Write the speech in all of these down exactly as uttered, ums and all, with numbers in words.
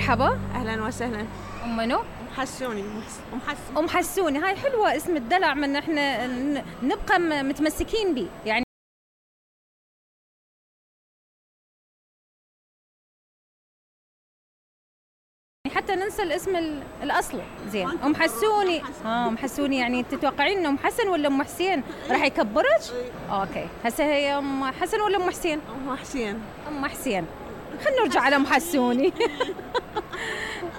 مرحبا. أهلا وسهلا. أم منو؟ أم حسوني. أم حسوني. أم حسوني، هاي حلوة اسم الدلع، من احنا نبقى متمسكين به يعني. حتى ننسى الاسم الأصلي. زين أم حسوني. اه أم حسوني، يعني تتوقعين إنه أم حسن ولا أم حسين راح يكبرك؟ اوكي، هسه هي أم حسن ولا أم حسين؟ أم حسين. أم حسين. خلينا نرجع على أم حسوني.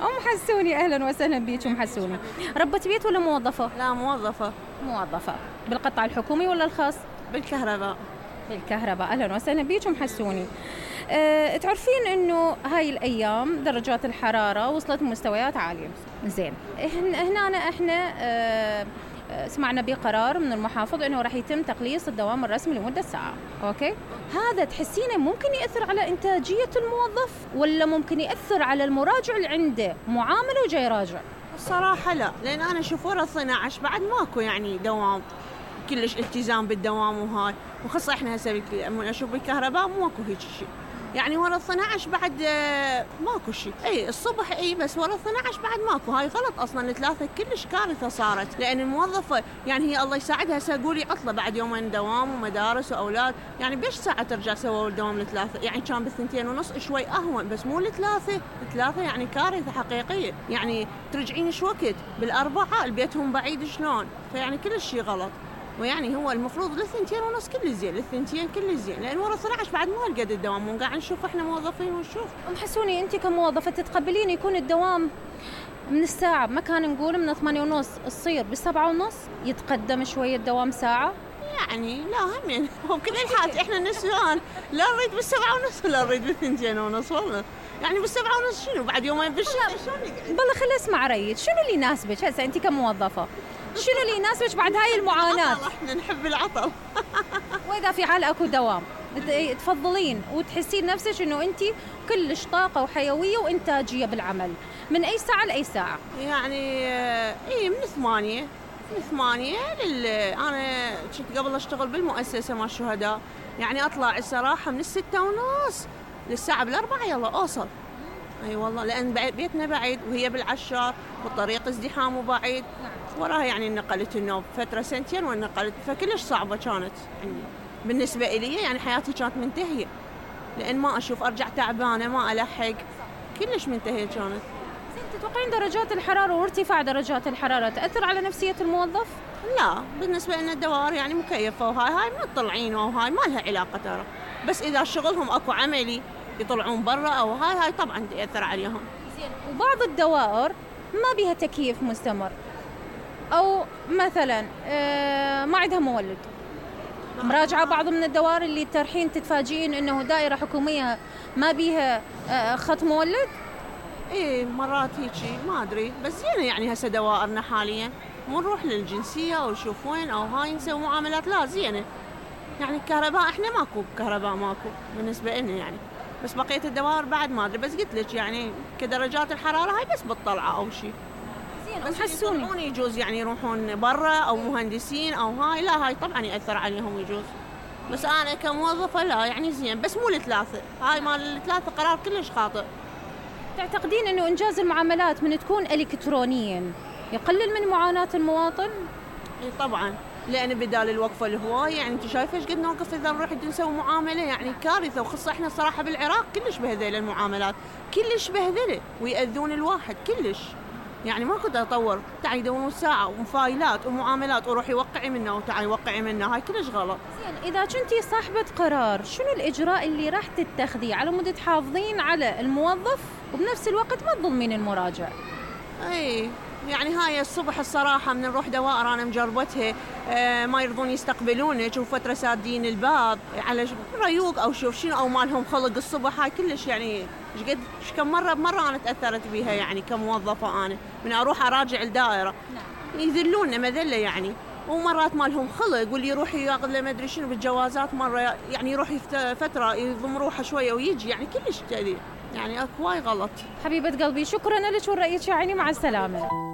أم حسوني، أهلا وسهلا بيك أم حسوني. ربة بيت ولا موظفة؟ لا، موظفة. موظفة بالقطاع الحكومي ولا الخاص؟ بالكهرباء. بالكهرباء، أهلا وسهلا بيك أم حسوني. أه، تعرفين إنه هاي الأيام درجات الحرارة وصلت مستويات عالية. زين، هنا إحنا أه سمعنا بقرار من المحافظ إنه راح يتم تقليص الدوام الرسمي لمدة ساعة. أوكي، هذا تحسينه ممكن يأثر على إنتاجية الموظف ولا ممكن يأثر على المراجع اللي عنده معاملة وجاي راجع؟ الصراحة لا، لأن أنا أشوف ورا اثني عشر بعد ماكو يعني دوام كلش التزام بالدوام وهاي، وخاصة إحنا هسه أشوف بالكهرباء ماكو هيك شيء، يعني ورا اثني عشر بعد ماكو شيء. اي الصبح اي، بس ورا اثني عشر بعد ماكو. هاي غلط اصلا، الثلاثه كلش كارثه صارت، لان الموظفه يعني هي الله يساعدها هسه قولي عطله بعد يومين دوام ومدارس واولاد، يعني بيش ساعه ترجع سووا الدوام الثلاثه، يعني كان بالثنتين ونص شوي اهون، بس مو الثلاثه. الثلاثه يعني كارثه حقيقيه، يعني ترجعين ايش وقت بالاربعه البيتهم بعيد شلون، فيعني كل شيء غلط. ويعني هو المفروض للثنتين ونص كل زين، للثنتين كل زين، لان ورا اثني عشر بعد مو هالقد الدوام، مو قاعد نشوف احنا موظفين ونشوف. ام حسوني، انت كموظفه تتقبلين يكون الدوام من الساعه ما كان نقول من ثمانية ونص تصير بالسبعة ونص، يتقدم شويه الدوام ساعه؟ يعني لا همين هو بكل الحالات احنا نسوان لا نريد بالسبعة ونص ولا نريد بالثنتين ونص، والله يعني بالسبعة ونص شنو بعد يومين بالشهر شلون نقعد؟ بالله خلي اسمع ريت، شنو اللي يناسبك هسه انت كموظفه؟ شنو اللي يناسبك بعد هاي المعاناة؟ احنا نحب العطل. واذا في حال اكو دوام تفضلين وتحسين نفسك انه انت كلش طاقة وحيوية وانتاجية بالعمل، من اي ساعة لاي ساعة؟ يعني اي من ثمانية من ثمانية لل انا كنت قبل اشتغل بالمؤسسة مال الشهداء، يعني اطلع الصراحة من الستة ونص للساعة بالاربعة يلا اوصل. اي أيوة والله، لان بيتنا بعيد وهي بالعشار والطريق ازدحام وبعيد. وراها يعني نقلت النوب فترة سنتين ونقلت، فكلش صعبة كانت يعني بالنسبة إلي، يعني حياتي كانت منتهية، لأن ما أشوف أرجع تعبانة ما ألحق، كلش منتهية كانت. زين، تتوقعين درجات الحرارة وارتفاع درجات الحرارة تأثر على نفسية الموظف؟ لا، بالنسبة لنا الدوائر يعني مكيفة وهاي هاي ما تطلعين وهاي ما لها علاقة ترى، بس إذا شغلهم أكو عملي يطلعون برا أو هاي هاي طبعا تأثر عليهم. زين، وبعض الدوائر ما بيها تكييف مستمر، أو مثلا ما عندها مولد، مراجعة بعض من الدوائر اللي ترحين تتفاجئين إنه دائرة حكومية ما بيها خط مولد؟ إيه مرات هيجي ما أدري، بس زين يعني هسه دوائرنا حاليا مو نروح للجنسية أو شوف وين أو هاي نسوي معاملات، لا زينة يعني. الكهرباء إحنا ماكو كهرباء ماكو بالنسبة لنا يعني، بس بقية الدوائر بعد ما أدري، بس قلت لك يعني كدرجات الحرارة هاي بس بالطلعة أو شيء. بس حسوني يجوز يعني يروحون برا او مهندسين او هاي، لا هاي طبعا ياثر عليهم يجوز، بس انا كموظفه لا يعني زين، بس مو الثلاثه، هاي مال الثلاثه قرار كلش خاطئ. تعتقدين انه انجاز المعاملات من تكون الكترونيا يقلل من معاناه المواطن؟ اي طبعا، لان بدال الوقفه الهوايه يعني انت شايفه ايش قد نوقف اذا نروح نسوي معامله، يعني كارثه. وخاصه احنا صراحه بالعراق كلش بهذيل المعاملات، كلش بهذله ويأذون الواحد كلش، يعني ما كنت أطور، تعي يدورون ساعة ومفايلات ومعاملات وروحي وقعي منه وتعي وقعي منه، هاي كلش غلط. زين، إذا كنتي صاحبة قرار شنو الإجراء اللي راح تتخذيه على مود تحافظين على الموظف وبنفس الوقت ما تظلمين المراجع؟ أي يعني هاي الصبح الصراحة من نروح دوائر أنا مجربتها آه ما يرضون يستقبلونك وفترة سادين الباب على ريوق أو شوف شنو أو مالهم خلق الصبح، هاي كلش يعني ايش قد ايش كم مرة بمرة أنا تأثرت بيها يعني كموظفة أنا من أروح أراجع الدائرة. نعم. يذلوننا مذلة يعني، ومرات مالهم خلق واللي يروح ياخذ له ما أدري شنو بالجوازات مرة يعني يروح فترة يضم روحه شوية ويجي، يعني كلش تأذي يعني اكو واي غلط. حبيبة قلبي شكرا لك ورأيك يا عيني، مع السلامة.